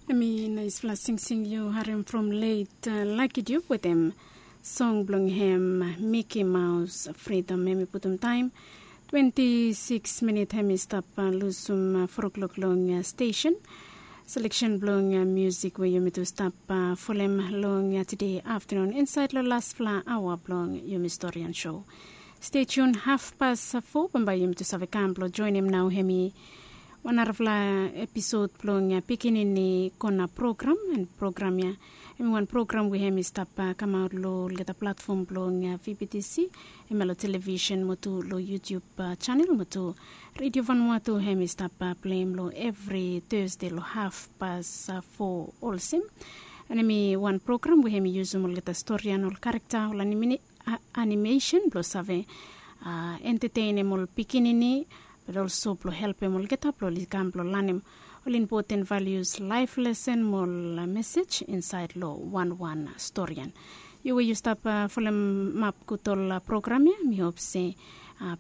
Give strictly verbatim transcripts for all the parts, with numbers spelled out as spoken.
Em i naispela singsing yu harim from let Lucky Dube wetem song bilong hem Mickey Mouse Freedom. Em i putum taim twenti sikis minit hem i stap lusum fo klok long stesen. Selection bilong musik we yumi tu stap folem long tide aftanun insait long laspela aua bilong yumi storian show. Stay tuned, half past four bambae yumi tu save kam bilong joinim nau hem i wan narafala episod bilong pikinini kona program. And program ya em i wan program we hem i stap kamaut long olgeta platfom bilong vptc, em ya long television mo tu long YouTube chanel mo tu redio vanua tu hem i stap pleim long evri Thursday long half past four olsem. And em i wan program we hem i yusum olgeta storian, ol karakta, ol animation bilong save entetenim ol pikinini, but also bilong helpim olgeta bilong ol i kam bilong lanim ol impoten valius, laif lesen mo ol mesej insait long wanwan storian. Yu we yu stap folemap gut ol program ya, mi hop se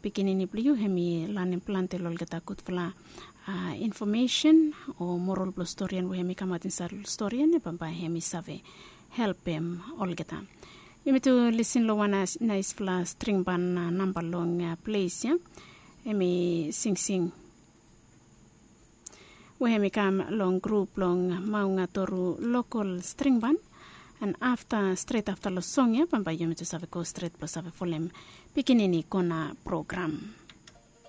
pikinini bilong yu hem i lanim planti long olgeta gutfala infomesen o moral bilong storian we hem i kamap insait long storian ya, bambae hem i save helpim olgeta. Yumi tu lisin long wan naispela stringban namba long ples ya. Em i singsing we hem i kam long grup bilong Maungatoru lokol stringban. And afta, stret afta long song ya, bambae yumi tu save go stret bilong save folem pikinini kona program.